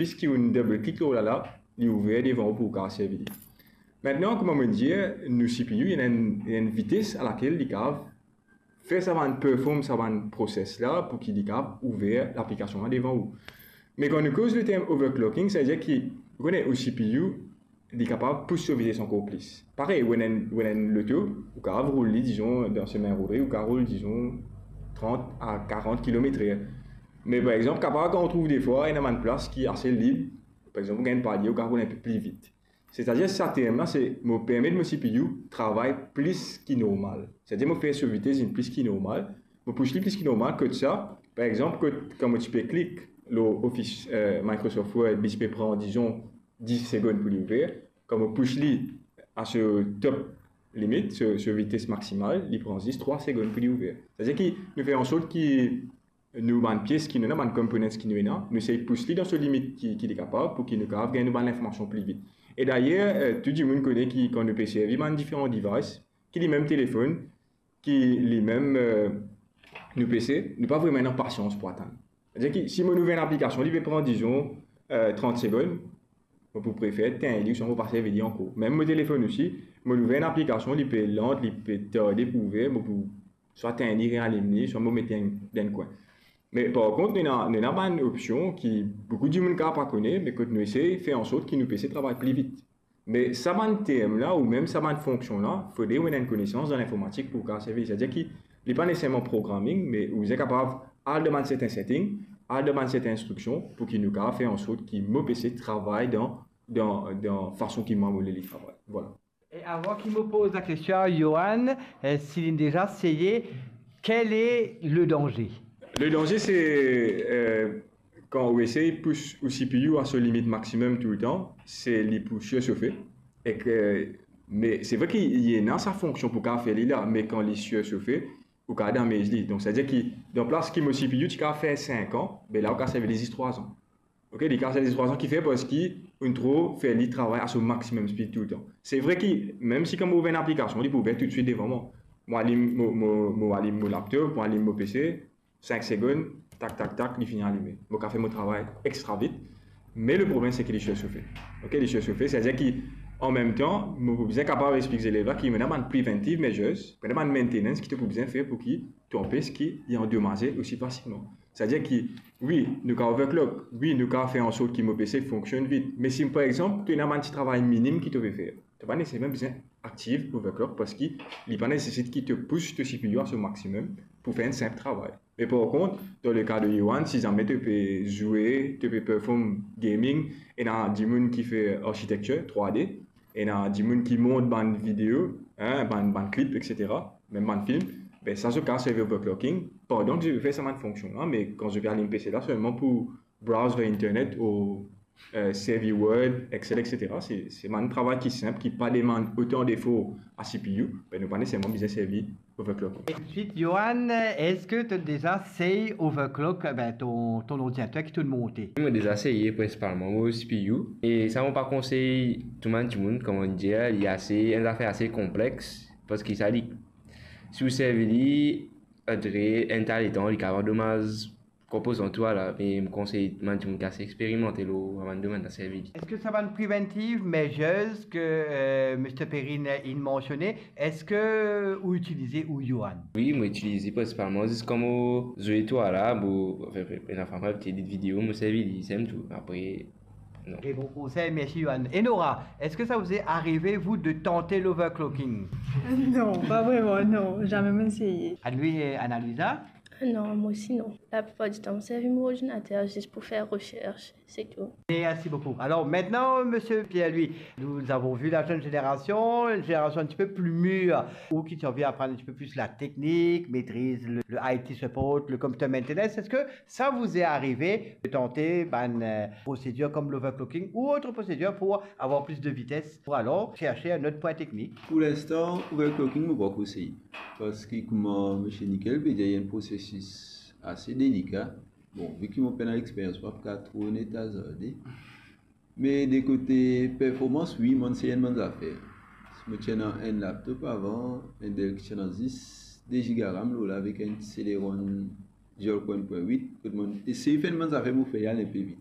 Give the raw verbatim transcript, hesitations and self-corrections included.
Zis ki ou double klik lor la la, li ouver devan ou pou ou kapav servi li. Aster, kouma mo dir, nou C P U, li ena enn, li ena enn vites alakel li kapav fer sa bann perform sa bann proses la pou ki li kapav ouver laplikasion la devan ou. Me kan nou koz leterm overclocking, savedir ki, ou kone, ou C P U, li kapav pous so vites ankor plis. Parey, ou ena enn, ou ena enn loto, ou kapav roul li, dizon, dan semin rode, ou kapav roul, dizon, trant a karant kilometer. Me par exanp, kapav kan ou trouv defwa, ena bann plas ki ase lib, par exanp, ou gagn palie, ou kapav roul enpe pli vit. Setadir, sa term la, se mo permet mo C P U travay plis ki normal. Setadir, mo fer so vites vinn plis ki normal, mo pous li plis ki normal, kot sa, par exanp, kot, kan mo ti pe klik lor Office, eh, Microsoft Word, li ti pe pran, dizon, dis segonn pou li ouver. Kan mo pous li a so top limit, so, so vites maksimal, li pran zis trwa segonn pou li ouver. Setadir ki nou fer ansort ki nou bann pies ki nou ena, bann components ki nou ena, nou sey pous li dan so limit ki, ki li kapav, pou ki nou kapav gagn nou bann linformasion pli vit. E dayer, eh, tou dimoun kone ki kan nou pe servi bann diferan device, ki li mem telefonn, ki li mem, eh, nou P C, nou pa vreman ena pasians pou atann. Setadir ki si mo ouver enn aplikasion, li pe pran, dizon, eh, trant segonn, mo pou prefer tegn li, ouswa mo pa servi li ankor. Mem mo telefonn osi, mo ouver enn aplikasion, li pe lant, li pe tarde pou ouver, mo pou swa tegn li, realim li, swa mo met li dan enn kwin. Me par kont, nou ena, nou ena bann opsion ki boukou dimoun kapav pa kone, me kot nou esey fer ansort ki nou P C travay pli vit. Me sa bann term la, ou mem sa bann fonksion la, fode ou ena enn konesans dan linformatik pou ou kapav servi. Setadir ki li pa neseserman programming, me ou bizin kapav al dan bann sertin setting, al dan bann sertin instriksion, pou ki nou kapav fer ansort ki mo P C travay dan, dan, dan fason ki mwa mo le li travay. Vwala. E avan ki mo poz lakestion a Johan, eh, si li deza seye, quel est le danger? Le danze, se, eh, kan ou esey pous ou C P U a so limit maximum toultan, se li pou sursofe. Ek, me se vre ki li ena sa fonksion pou kapav fer li la, me kan li sursofe, ou kapav damez li. Donk, setadir ki, dan plas ki mo C P U ti kapav fer sink an, be la, ou kapav servi li zis trwa an. Ok, li kapav servi trwa an, ki fer parski ou tro fer li travay a so maximum speed toultan. Se vre ki, mem si kan mo ouver enn aplikasion, li pou ouver toutswit devan mwa. Mo alim mo, mo, mo alim mo laptop, mo alim mo P C, sink segonn, tak, tak, tak, li fini alime. Mo kapav fer mo travay extra vit, me le problem, se ki li sursofe. Ok, li sursofe, setadir ki, an mem tan, mo pou bizin kapav explik zelev la ki ena bann preventive measures, ena bann maintenance ki to pou bizin fer pou ki to anpes ki li andomaze osi fasilman. Setadir ki, wi, nou kapav overclock, wi, nou kapav fer ansort ki mo P C fonksionn vit, me si, par exanp, to ena bann ti travay minim ki to pe fer, to pa neseserman bizin aktiv overclock, parski li pa nesesit ki to pous to C P U a so maximum pou fer enn sinp travay. Me par kont, dan le ka de Johan, si zame to pe zwe, to pe perform gaming, ena dimoun ki fer architecture three D, ena dimoun ki mont bann video, hein, bann, bann clip, et cetera, mem bann film, be sa zot kapav servi overclocking pandan ki zot pe fer sa bann fonksion la, me kan zot pe alim P C la selman pou browse ver internet ou, eh, servi Word, Excel, et cetera. Se, se bann travay ki sinp, ki pa demann otan defor a C P U, be nou pa neseserman bizin servi overclocking. E toutswit, Johan, eski to deza sey overclock, ben, to, to ordinater ki to monte? Mo deza seye prinsipalman mo C P U, e sa mo pa konsey tou bann dimoun, kouma dir, li ase, enn zafer ase konplex, parski sa li, si ou servi li, apre enn ta letan, li kapav domaz konpozan tou la, me mo konsey bann dimoun ki ase experimante lor sa bann domenn la servi li. Eski sa bann preventive measures ki, eh, Mister Perrine inn mansione, eski ou itilize ou, Johan? Wi, mo itilize prinsipalman zis kan mo zwe tou la, mo, anfin, anfin, anfin, edit video, mo servi li, se tou. Apre, non. Tre bon konsey, mersi, Johan. E Nora, eski sa vous est arrivé, vous, de tenter l'overclocking? Non, pas vraiment, non, jamais mo seye. Anne-Louise et Anna-Luisa? Non, moi aussi non. La plupart du temps, mo servi mon ordinateur juste pour faire recherche, c'est tout. Merci beaucoup. Alors maintenant, monsieur Pierre-Louis, nous avons vu la jeune génération, une génération un petit peu plus mûre, ou qui ont envie d'apprendre un petit peu plus la technique, maîtrise le, le I T support, le computer maintenance. Est-ce que ça vous est arrivé de tenter, ben, euh, procédure comme l'overclocking ou autre procédure pour avoir plus de vitesse, pour alors chercher un autre point technique? Pou linstan, overclocking, mo pa konseye. Parski kouma Misie Nickel pe dir, li enn prosesis ase delika. Bon, vi ki mo pena lexperyans, mo pa pou kapav tro net azarde. Me de kote performans, wi, mo inn sey enn bann zafer. Mo ti ena enn laptop avan, enn Dell ki ti ena zis de giga RAM lor la avek enn Celeron dual core enn pwin wit, kot mo inn esey fer enn bann zafer pou fer li al enpe vit.